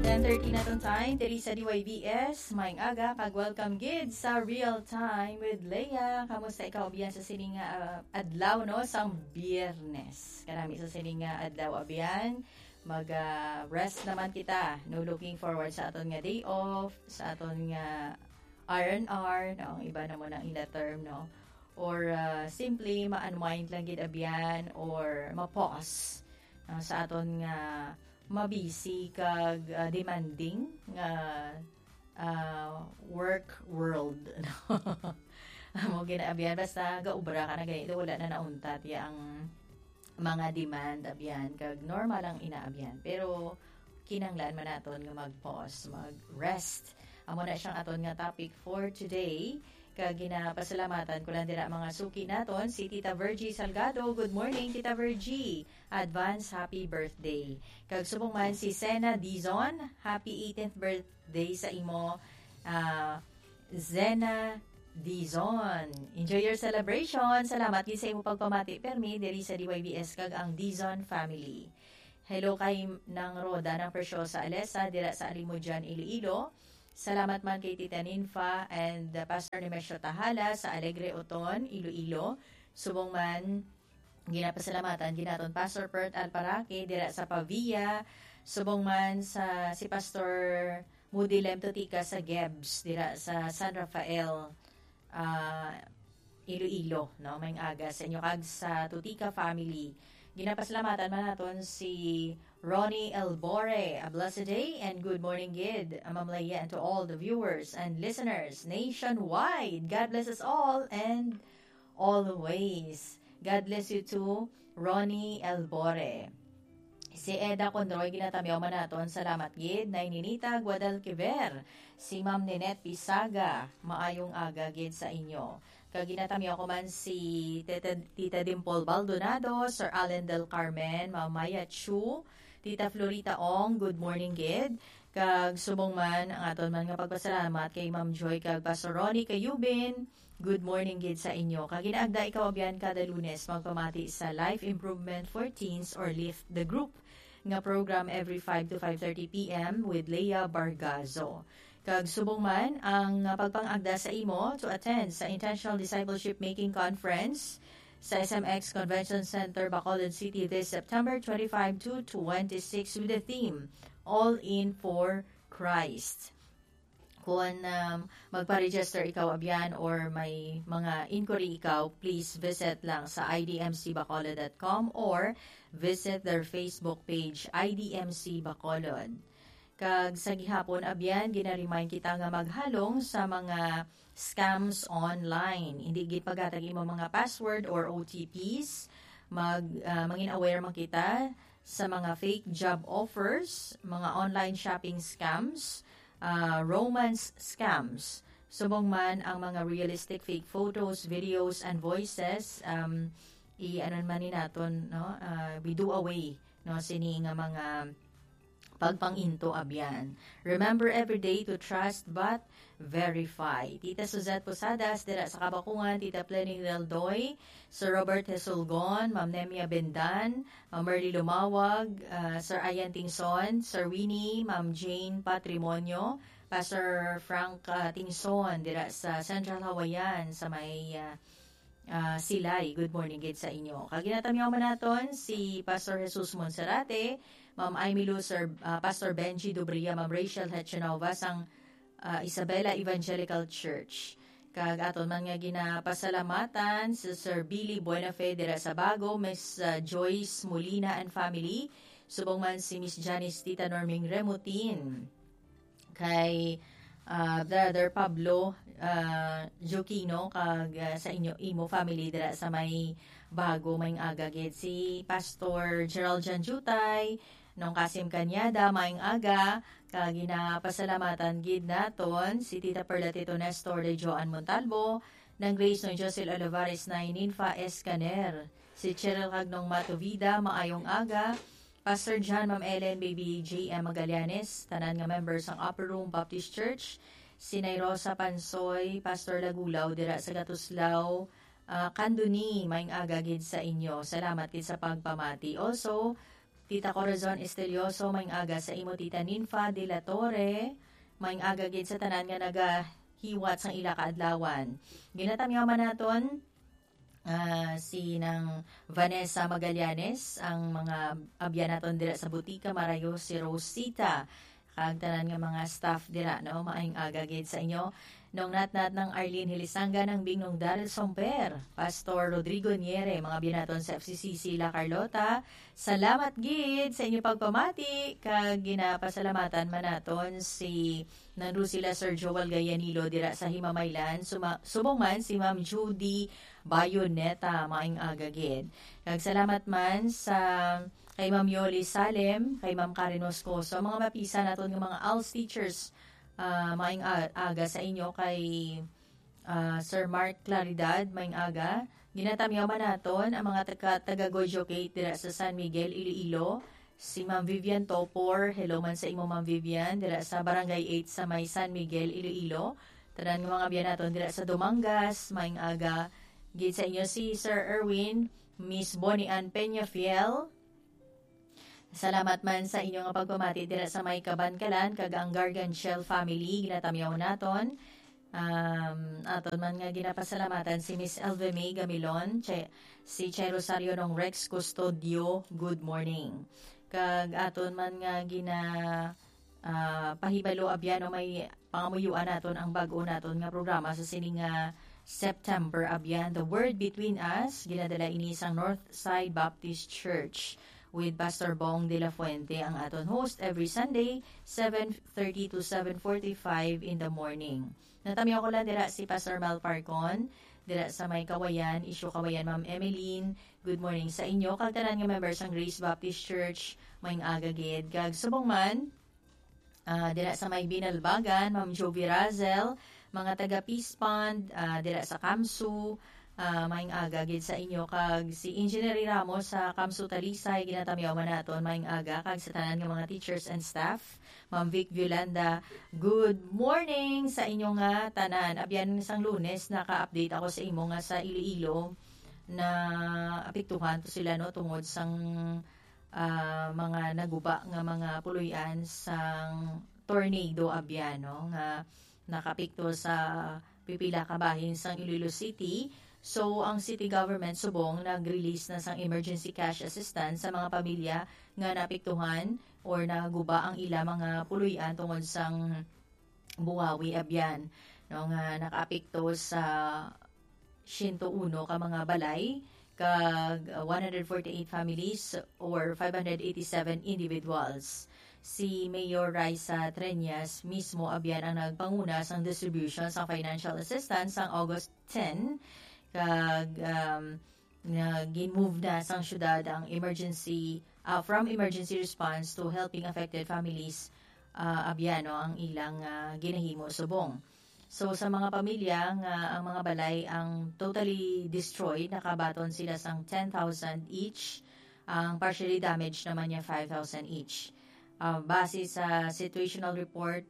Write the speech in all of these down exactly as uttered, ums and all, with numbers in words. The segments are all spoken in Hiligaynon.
Ten thirty na tong time, diri sa D Y B S. Maayong aga, kag welcome gid sa Real Time with Leia. Kamusta ikaw, abyan, sa sini nga, ah, adlaw, no? Sang Biyernes. Kanami sa sini nga adlaw, abyan. Mag, ah, rest naman kita, no? Looking forward sa aton nga day off, sa aton nga R and R, no? Ang iba na mo nang ila term, no? Or, ah, simply ma-unwind lang gid, abyan, or ma-pause, no? Sa aton nga mabisi kag, ah, demanding nga, ah, work world, no? Amo gina, abyan, basta gaubra ka na gani, wala na nauntat ya ang mga demand, abyan, kag normal ang ina, abyan. Pero kinahanglan man naton nga mag-pause, mag-rest. Amo na siyang aton nga topic for today. Kag ginapasalamatan ko lang dira mga suki naton, si Tita Virgie Salgado. Good morning, Tita Virgie. Advance happy birthday. Kag subong man si Sena Dizon, happy eighteenth birthday sa imo, ah, Zena Dizon. Enjoy your celebration. Salamat gid sa imo pagpamati permi diri sa D Y B S kag ang Dizon family. Hello kay Nang Roda, Nang Preciosa Alesa, dira sa Alimodian, Iloilo. Salamat man kay Tita Ninfa and, uh, Pastor Nemesio Tahala sa Alegre, Oton, Iloilo. Subong man, ginapasalamatan gid naton Pastor Bert Alparaque dira sa Pavia. Subong man sa si Pastor Moody Lem Tutica sa Gebs dira sa San Rafael, ah, Iloilo, no? Maayong aga sa inyo kag sa Tutica family. Ginapasalamatan man naton si Ronnie Elbore. A blessed day and good morning gid, Ma'am Leia, and to all the viewers and listeners nationwide. God bless us all and always. God bless you too, Ronnie Elbore. Si Eda Condroy, ginatamyaw man naton, salamat gid. Nay Ninita Guadalquiver, si Ma'am Ninette Pisaga, maayong aga gid sa inyo. Kag ginatamyaw ko man si Tita, Tita Dimple Baldonado, Sir Allen Del Carmen, Ma'am Maya Chu, Tita Florita Ong, good morning gid. Kag subong man ang aton man nga pagpasalamat kay Ma'am Joy kag Pastor Ronnie Cayubin. Good morning gid sa inyo. Kag ginaagda ikaw, abyan, kada Lunes magpamati sa Life Improvement for Teens or Lift the Group nga program every five to five thirty P M with Leia Bargazo. Kag subong man ang, ah, pagpangagda sa imo to attend sa Intentional Discipleship Making Conference sa S M X Convention Center, Bacolod City, this September twenty-five to twenty-six with the theme, All In for Christ. Kung, um, magpa-register ikaw, abyan, or may mga inquiry ikaw, please visit lang sa I D M C Bacolod dot com or visit their Facebook page, I D M C Bacolod. Kag sa gihapon, abyan, ginaremind kita nga maghalong sa mga scams online. Hindi gid paghatag imo mga password or O T Ps. Mag, ah, mangin aware man kita sa mga fake job offers, mga online shopping scams, ah, romance scams. Subong man ang mga realistic fake photos, videos, and voices, um, i-, ano man ni naton, no? Ah, we do away, no, sini nga mga pagpanginto, abyan. Remember every day to trust but verify. Tita Suzette Posadas, dira sa Kabakungan, Tita Pleny Reldoy, Sir Robert Hesulgon, Ma'am Nemia Bendan, Ma'am Merly Lumawag, ah, Sir Ian Tingson, Sir Winnie, Ma'am Jane Patrimonio, Pastor Frank, ah, Tingson, dira sa Central Hawaiian, sa may, ah, ah, Silay. Good morning gid sa inyo. Kag ginatamyaw man naton si Pastor Jesus Monserrate, Ma'am Aimee Lou, Sir, ah, Pastor Benji Dubria, Ma'am Rachel Hechanova sang, ah, Isabela Evangelical Church. Kag aton man nga ginapasalamatan si Sir Billy Buenafe dira sa Bago, Miss, ah, Joyce Molina and family, subong man si Miss Janice, Tita Norming Remutin, kay, ah, Brother Pablo, ah, Joquino, kag, ah, sa inyo, imo family dira sa may Bago, maayong aga gid. Si Pastor Gerald Janjutay, Nong Kasim Cañada, maayong aga. Kag ginapasalamatan gid naton si Tita Perla Tito Nestor de Joan Montalvo, Nang Grace Nong Josel Olivares, Nay Ninfa Escaner, si Cheryl kag Nong Mato Vida, maayong aga. Pastor John, Ma'am Ellen, Baby J M Magallanes, tanan nga members sang Upper Room Baptist Church, si Nay Rosa Pansoy, Pastor Lagulaw dira sa Gatuslao, ah, Candoni, maayong aga gid sa inyo. Salamat gid sa pagpamati. Also, Tita Corazon Estelioso, maayong aga sa imo, Tita Ninfa de la Torre, maayong aga gid sa tanan nga nagahiwat sang ila kaadlawan. Ginatamyaw man naton, ah, si Nang Vanessa Magallanes, ang mga abyan naton dira sa Butika, Marayo, si Rosita, kag tanan nga mga staff dira, no? Maayong aga gid sa inyo. Nong Natnat, Nang Arlene Hilisanga, Nang Bing, Nong Daryl Somper, Pastor Rodrigo Niere, mga abyan naton sa F C C C La Carlota. Salamat gid sa inyo pagpamati, kag ginapasalamatan man naton si Nang Rosila Sir Joel Gayanilo dira sa Himamaylan, suma-, subong man si Ma'am Judy Bayoneta, maayong aga gid. Kag salamat man sa kay Ma'am Yoli Salem, kay Ma'am Karen Moscoso, mga mapisa naton nga mga als teachers, ah, maayong a-, aga sa inyo, kay, ah, Sir Mark Claridad, maayong aga. Ginatamyaw man naton ang mga taga, taga Gojo Gate dira sa San Miguel, Iloilo. Si Ma'am Vivian Topor, hello man sa imo, Ma'am Vivian, dira sa Barangay eight sa may San Miguel, Iloilo. Tanan nga mga abyan naton dira sa Dumangas, maayong aga gid sa inyo. Si Sir Erwin, Miss Bonnie Ann Peñafiel, salamat man sa inyo nga pagpamati dira sa may Kabankalan, kag ang Garganchel family, ginatamyaw naton. Um, aton man nga ginapasalamatan si Miss Elvie May Gamilon, Che-, si Che Rosario Nong Rex Custodio, good morning. Kag aton man nga gina-, ah, pahibalo, abyan, no, may pangamuyuan naton ang bag-o naton nga programa sa sini nga September, abyan, The Word Between Us. Ginadala ini sang North Side Baptist Church with Pastor Bong de la Fuente, ang aton host, every Sunday, seven thirty to seven forty-five in the morning. Natamyaw ko lang dira si Pastor Mel Parcon, dira sa may Kawayan, Isyo Kawayan, Ma'am Emeline. Good morning sa inyo, kag tanan nga members sang Grace Baptist Church, maayong aga gid. Kag subong man, ah, dira sa may Binalbagan, Ma'am Jovi Razel, mga taga Peace Pond, ah, dira sa Kamsu, ah, maayong aga gid sa inyo. Kag si Engineer Ramos sa Kamsu Talisay, ginatamyaw man naton, maayong aga, kag sa tanan nga mga teachers and staff. Ma'am Vic Violanda, good morning sa inyo nga tanan. Abyan, sang Lunes, naka-update ako sa imo nga sa Iloilo, naapektuhan to sila, no, tungod sang, ah, mga naguba nga mga puloy-an sang tornado, abyan, no, nga nakapekto sa pipila ka bahin sang Iloilo City. So, ang city government subong nag-release na sang emergency cash assistance sa mga pamilya nga naapektuhan or naguba ang ila mga puloy-an tungod sang buhawi, abyan, no, nga nakaapekto sa siyento uno ka mga balay kag, uh, one hundred forty-eight families or five hundred eighty-seven individuals. Si Mayor Raisa Treñas mismo, abyan, ang nagpanguna sang distribution sang financial assistance sang August ten, kag, um, nga gin-move na sang syudad ang emergency, ah, from emergency response to helping affected families, ah, abyan, no, ang ilang, ah, ginahimo subong. So, sa mga pamilya nga ang mga balay ang totally destroyed, nakabaton sila sang ten thousand each. Ang partially damaged naman niya five thousand each. Ah, base sa situational report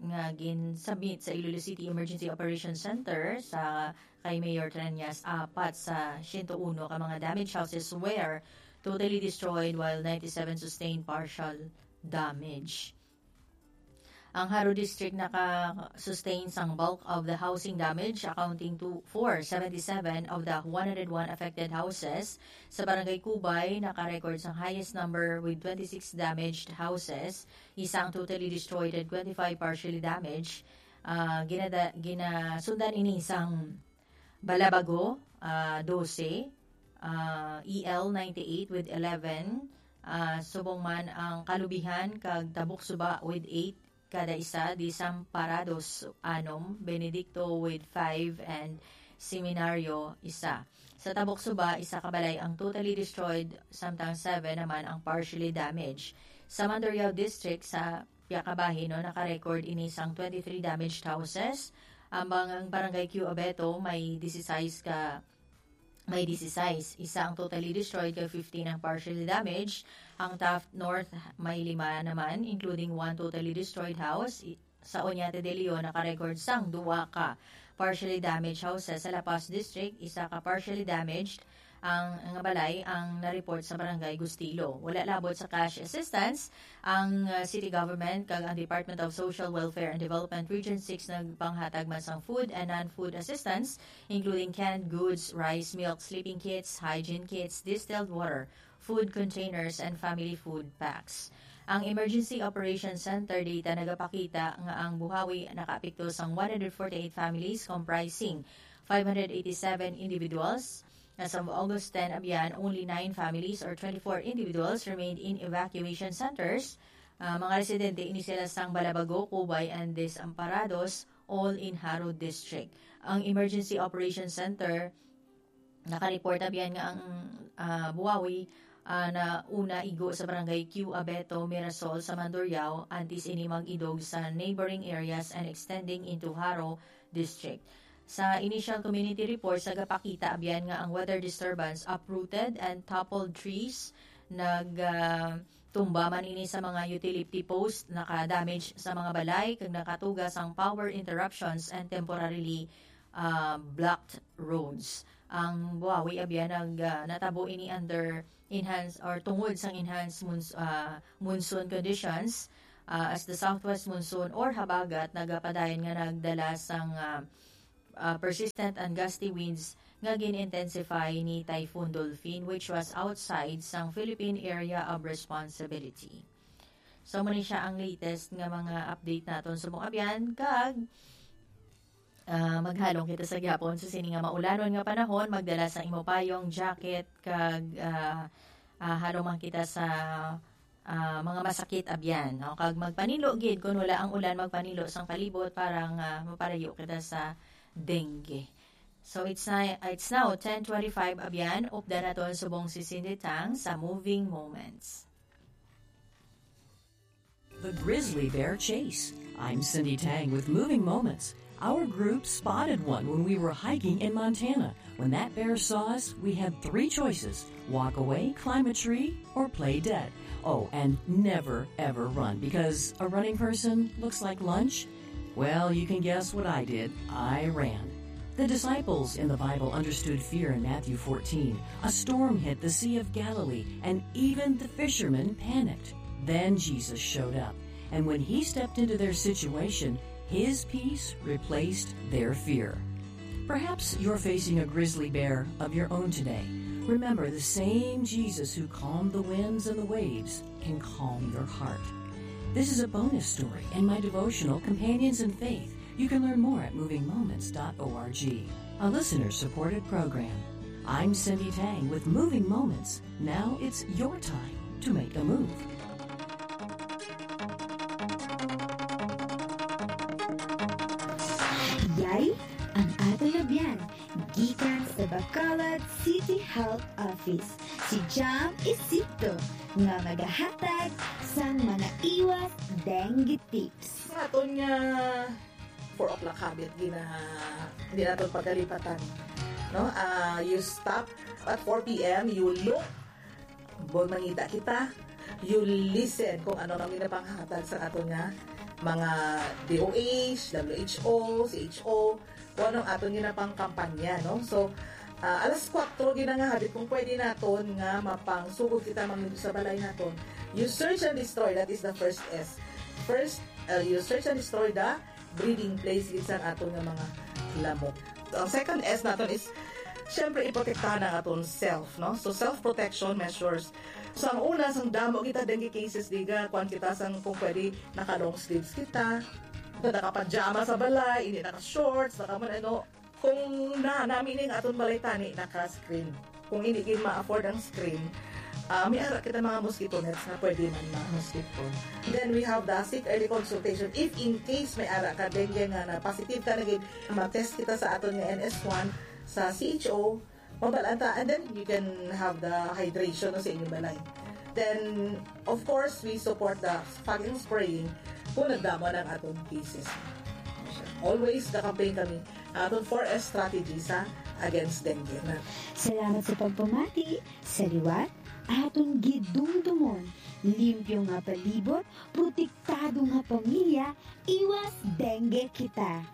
nga gin-submit sa Iloilo City Emergency Operations Center sa kay Mayor Treñas, apat sa siyento uno ka mga damaged houses were totally destroyed, while ninety-seven sustained partial damage. Ang Jaro District naka-sustain sang bulk of the housing damage, accounting to for seventy-seven of the one hundred one affected houses. Sa Barangay Cubay, naka-record sang highest number with twenty-six damaged houses, isa ang totally destroyed and twenty-five partially damaged. Ah, ginada-, ginasundan ini sang Balabago, ah, dose, ah, E L ninety-eight with eleven, ah, subong man ang Kalubihan kag Tabuksuba with eight kada isa, Desamparados anom, Benedicto with five, and Seminario isa. Sa Tabuksuba, isa ka balay ang totally destroyed, samtang seven naman ang partially damaged. Sa Mandurriao District, sa piyaka bahin, no, naka-record ini sang twenty-three damaged houses. Ang bang-, ang Barangay Q Abeto may disisais ka, may disisais. Isa ang totally destroyed, kag fifteen ang partially damaged. Ang Taft North may lima naman, including one totally destroyed house. I-, sa Oñate de Leon, naka-record sang duwa ka partially damaged houses. Sa La Paz District, isa ka partially damaged ang, nga balay ang na-report sa Barangay Gustilo. Wala labot sa cash assistance ang, uh, city government kag ang Department of Social Welfare and Development Region six nagpanghatag man sang food and non-food assistance, including canned goods, rice, milk, sleeping kits, hygiene kits, distilled water, food containers, and family food packs. Ang Emergency Operations Center data nagapakita nga ang Buhawi nakaapekto sang one hundred forty-eight families, comprising five hundred eighty-seven individuals. As of August ten, abyan, only nine families or twenty-four individuals remained in evacuation centers. Ah, mga residente ini sila sang Balabago, Cubay, and Desamparados, all in Jaro District. Ang Emergency Operations Center naka-report, abyan, nga ang, ah, Buawi, ah, na una igo sa Barangay Q Abeto, Mirasol sa Mandurriao, antes ini mag-idog sa neighboring areas and extending into Jaro District. Sa initial community reports, nagapakita, abyan, nga ang weather disturbance uprooted and toppled trees, nag, ah, tumba man ini sa mga utility post, naka-damage sa mga balay, kag nakatuga sang power interruptions and temporarily, ah, blocked roads. Ang Buawi, abyan, nag, ah, natabo ini under enhanced or tungod sang enhanced mons-, ah, monsoon conditions, ah, as the southwest monsoon or habagat nagapadayon nga nagdala sang, ah, ah, persistent and gusty winds nga gin-intensify ni Typhoon Dolphin, which was outside sang Philippine Area of Responsibility. So, muna siya ang latest nga mga update naton subong abyan, kag, ah, maghalong kita sa gihapon sa sini nga maulanon nga panahon, magdala sa imo payong, jacket, kag, ah, ah, halong man kita sa ah, mga masakit abyan, no? Kag magpaninlo gid, kun wala ang ulan, magpaninlo sang palibot para nga mapalayo kita sa dengue. So, it's na, it's now ten twenty-five abyan, updan naton subong si Cindy Tang sa Moving Moments. The Grizzly Bear Chase. I'm Cindy Tang with Moving Moments. Our group spotted one when we were hiking in Montana. When that bear saw us, we had three choices: walk away, climb a tree, or play dead. Oh, and never, ever run, because a running person looks like lunch. Well, you can guess what I did. I ran. The disciples in the Bible understood fear in Matthew fourteen. A storm hit the Sea of Galilee, and even the fishermen panicked. Then Jesus showed up, and when he stepped into their situation, his peace replaced their fear. Perhaps you're facing a grizzly bear of your own today. Remember, the same Jesus who calmed the winds and the waves can calm your heart. This is a bonus story in my devotional, Companions in Faith. You can learn more at moving moments dot org, a listener-supported program. I'm Cindy Tang with Moving Moments. Now it's your time to make a move. Yari ang aton abyan gikan sa Bacolod City Health Office, si Jam Isipto, nga magahatag sang mga iwas dengue tips. Sa aton nga four o'clock habit, gina-, hindi naton pagalipatan, no? Ah, you stop at four p.m., you look, kung mangita kita, you listen kung ano ang ginapanghatag sa aton nga mga D O H, W H O, C H O, kung ano ang aton ginapangkampanya, no? So, ah, alas kuwatro gina nga habit, kung pwede naton nga mapangsugod kita mangindo sa balay naton. You search and destroy, that is the first S. First, uh, you search and destroy the breeding place gid sang aton nga mga lamok. Ang second S naton is, syempre, iprotektahan ang aton self, no? So, self-protection measures. So, ang una, sang damo kita dengue cases, diga, kuwan kita sang, kung pwede, naka-long sleeves kita, nakapajama sa balay, hindi naka-shorts, naka-, ano, kung na, nami ning aton balay tani, naka-screen. Kung hindi gid ma-afford ang screen, ah, may ara kita mga mosquito nets nga pwede man ma-mosquito. Then we have the seek early consultation. If in case may ara ka dengue nga na positive ka na gid, ma-test kita sa aton nga N S one, sa C H O, mabal-an ta, and then you can have the hydration, no, sa inyong balay. Then, of course, we support the fogging spraying kung nagdamo na ang aton cases. Always, ka-campaign kami, aton four S strategy sa against dengue na. Salamat sa pagpamati. Sa liwat, aton gidumdumon, limpyo nga palibot, protektado nga pamilya, iwas dengue kita.